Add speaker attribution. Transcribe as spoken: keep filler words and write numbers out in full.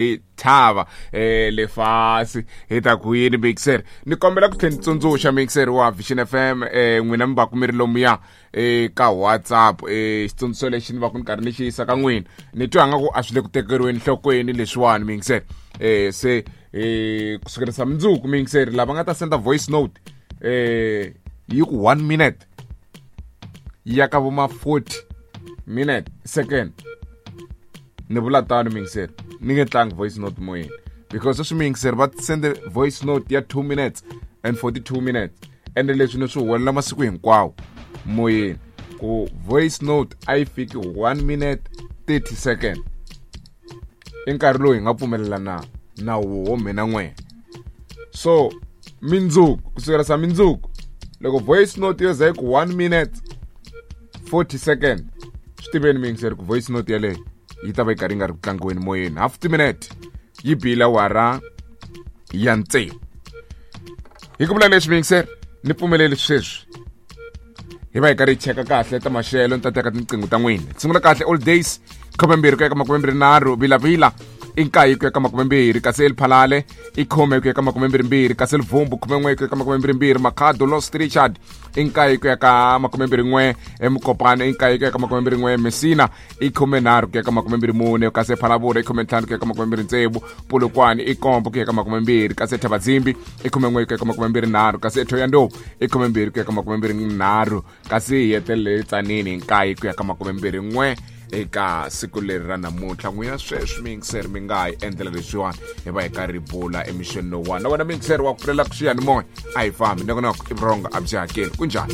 Speaker 1: Hi thava eh lefasi hi ta ku yini mixer ni kombela ku tlhela ni tsundzuxa mixer wa Vision F M eh n'wina mi va ku mi ri lomuya eh ka WhatsApp eh xitsundzuxo lexi ni va ku ni karhi ni xi yisa ka n'wina, ni twa nga ku a swi le ku tekeriweni nhlokweni leswiwani mixer. eh se eh kusukela sa mundzuku mixer, lava nga ta senda voice note eh yi ku one minute ya ka vo ma forty minute second, ni vula tano mixer, ni nge tlangi voice note moyeni, because sweswi mixer va sende voice note ya two minutes and forty-two minutes, ende leswi ni swi huwelela masiku hinkwawo moyeni ku voice note a yi fiki one minute thirty second. I nkarhi lowu hi nga pfumelelana na woho mina n'wena. So mindzuku, kusukela sa mindzuku, loko voice note yo za yi ku one minute forty second, swi tiveni mixer ku voice note yaleyo yi ta va yi karhi yi nga ri ku tlangiweni moyeni. Half minute yi bile awara ya tsevu. Hi ku vula leswi mixer, ni pfumeleli sweswi hi va hi karhi hi cheka kahle ta maxelo. Ni ta teka tinqingho ta n'wina. Sungula kahle: All Days khumembirhi ku ya ka makumembirhi nharhu, Vilavila i nkaye ku ya ka makumembirhi, kasi Eliphalale i khume ku ya ka makumembirhimbirhi, kasi Livumbu khumen'we ku ya ka makumembirhimbirhi, Makhado Lost Richard i nkaye ku ya ka makumembirhi n'we, eMukopane i nkaye ku ya ka makumembirhi n'we, Messina i khumenharhu ku ya ka makumembirhi mune, kasi Phalavula i khumentlhanu ku ya ka makumembirhi ntsevu, Polokwane i kombo ku ya ka makumembirhi, kasi Thabazimbi i khumen'we ku ya ka makumembirhi nharhu, kasi eThoyandou i khumembirhi ku ya ka makumembirhi nharhu, kasi hi hetelele Tsanini hi nkaye ku ya ka makumembirhi n'we eka siku leri ra namuntlha. N'wina sweswi mixer mi nga hi endlela leswiwani, hi va hi karhi bula emixeni lowuwani na wena mixer wa ku pfulela ku xiyanimoya. A hi fambi nongonoko i vurhonga a byi hakeli. Kunjhani?